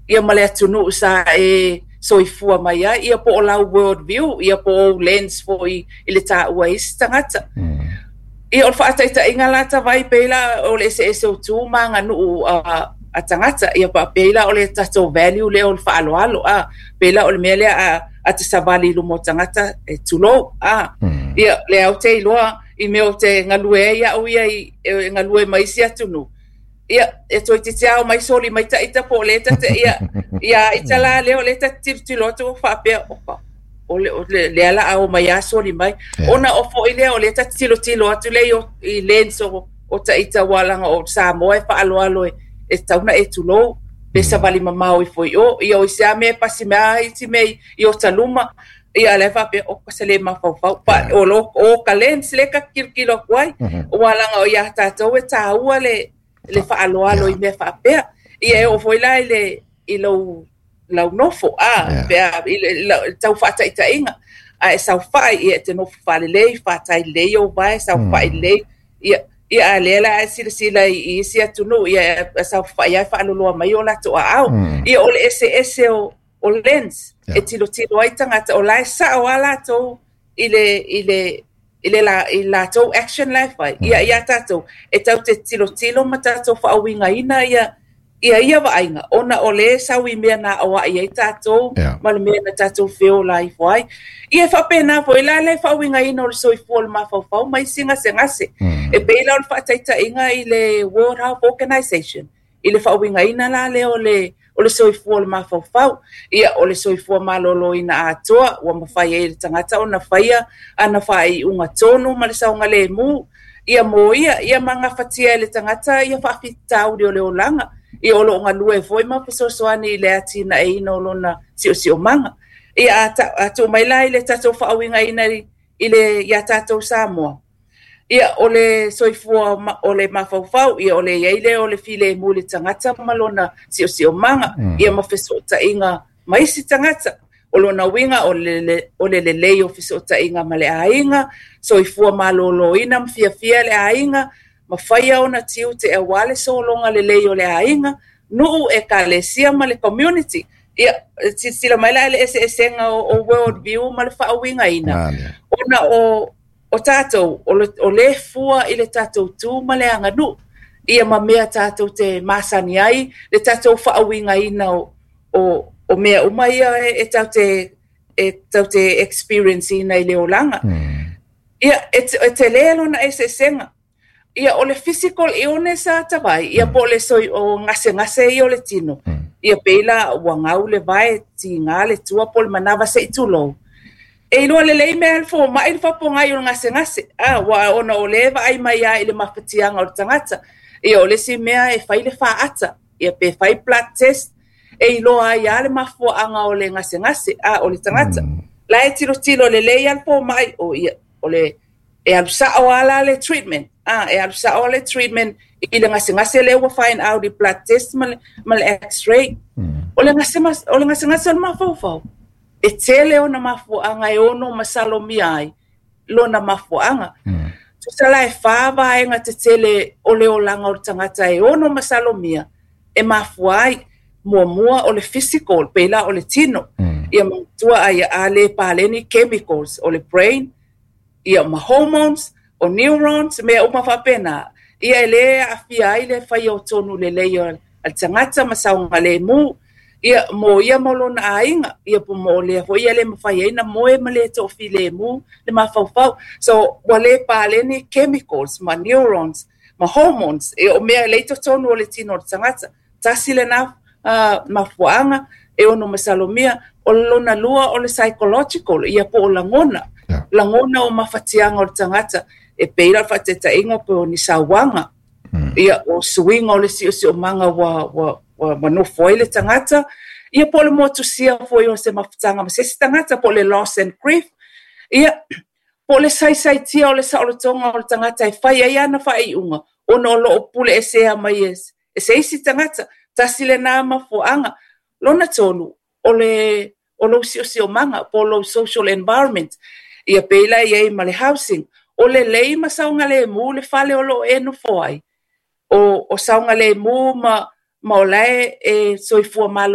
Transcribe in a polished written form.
Ia ma le atunuu sa e soifua mai ai, ia po o lau world view, ia po o ou lens foi i le taua e isi tagata. Ia o le faataitaiga la tavai pei la o le eseese o tu ma aganuu a tagata, ia pei la o le tatou value lea o le faaaloalo, a pei la o le mea lea a te savali i luma o tagata e tulou, a. Ia lea ou te iloa i mea ou te galue ai au ia e galue ma isi atunuu. Ia, e toeitiiti lava omai soli mai ita po o le ta te, ia, ia ita la lea o lea ta te tilotilo atu o faapea, opa, o le, o le, lea la a omai lava soli mai. Ona o foi lea o lea ta te tilotilo atu lea i lens o ita ua leaga o Samoa e faaaloalo e tatau ona e tulou, pe savali mamao ifo i o. Ia o isi lava mea e pasi mai lava isi mea i ota luma, ia lea faapea, oka se le mafaufau. Pa, o, lo, o ka lens lea ka tilotilo atu ai, ua leaga o ia tatou e taua le faaaloalo i mea faapea. Ia e oo foi la i lou lau nofo, a, pe i le tau faataitaiga. A e saofai, ia e te nofo faalelei, fatai lelei ou vae, saofai lelei. Ia, ia a lea la e silasila i isi atunuu, ia e saofai ai faaloloa mai o latou aao. Ia o le eseese o lens e tilotilo ai tagata, o la e sao a latou i latou action la e fai. Ia ia tatou, e tau te tilotilo ma tatou faauigaina ia vaaiga, ona o le sau i mea na aoai ai tatou ma le mea na tatou feola ifo ai. Ia e faapena foi la le faauigaina o le soifua o le mafaufau ma isi gasegase. E pei la o le faataitaiga i le World Health Organization, i le faauigaina la lea o le soifua o le mafaufau. Ia o le soifua maloloina atoa, ua mafai ai e le tagata ona faia ana faaiuga tonu ma le saogalemu. Ia mo ia, ia magafatia e le tagata ia faafitauli o le olaga. Ia o loo galue foi ma fesoasoani i le atinaeina o lona siosiomaga. Ia a tuu mai la i le tatou faauigaina i le ia tatou Samoa. Ia o le soifua o le mafaufau, ia o le iai lea o le filemu i le tagata ma lona siosiomaga, ia ma fesootaiga ma isi tagata. O lona uiga o le lelei o fesootaiga ma le aiga, soifua maloloina ma fiafia le aiga, ma faia ona tiute aua le sologa lelei o le aiga, nuu ekalesia ma le community. Ia, silasila mai la i le eseesega o world view ma le faauigaina. Ona o tatou, o le fua i le tatou tu ma le aganuu. Ia ma mea tatou te masani ai, le tatou faauigaina o mea uma ia e tau te experience ina i le olaga. Ia, e tele lona eseesega. Ia, o le physical illness a tavai, ia po o le soi o gasegase ia o le tino. Ia pei la ua gau le vae, tiga le tua po o le manava se i tulou. E iloa lelei mea le fomai le faapogai o le gasegase. A, ua ona o le vaai mai ai i le mafatiaga o le tagata. Ia o le isi mea e fai le faata. Ia pe fai blood test, e iloa ai lava le mafuaaga o le gasegase a o le tagata. La e tilotilo lelei lava le fomai, o ia, o le e alu sao lava la le treatment. A, e alu sao le treatment i le gasegase lea ua find out i blood test ma le x-ray. O le gasegase o le mafaufau, e tele ona mafuaaga e ono masalomia ai lona mafuaaga. Tusa la e fa vaega tetele o le olaga o le tagata e ono masalomia e mafua ai. Muamua o le physical, pei la o le tino. Ia manatua ai a le paleni chemicals o le brain, ia ma hormones, o neurons, mea uma faapena. Ia e le aafia ai le faia o tonu lelei o le tagata ma saogalemu. Ia mo ia ma lona aiga, ia po mo lea foi ia le mafai ai na moe ma le toafilemu le mafaufau. So ua le paleni chemicals ma neurons ma hormones e o mea le i totonu o le tino o le tagata. Tasi lena mafuaaga e ono masalomia. O le lona lua o le psychological, ia po o lagona. Lagona o mafatiaga o le tagata. E pei la le faataitaiga po o ni sauaga. Ia o suiga o le siosiomaga ua nofo ai le tagata. Ia po o le motusia foi o se mafutaga ma se isi tagata po o le loss and grief. Ia po o le saisaitia o le saolotoga o le tagata e fai ai ana faaiuga ona o loo pule esea mai e se isi tagata. Tasi lena mafuaaga. Lona tolu, o lou siosiomaga po o lou social environment. Ia pei la i ai ma le housing. O lelei ma saogalemu le fale o loo e nofo ai. O saogalemu ma o la e soifua maloloina.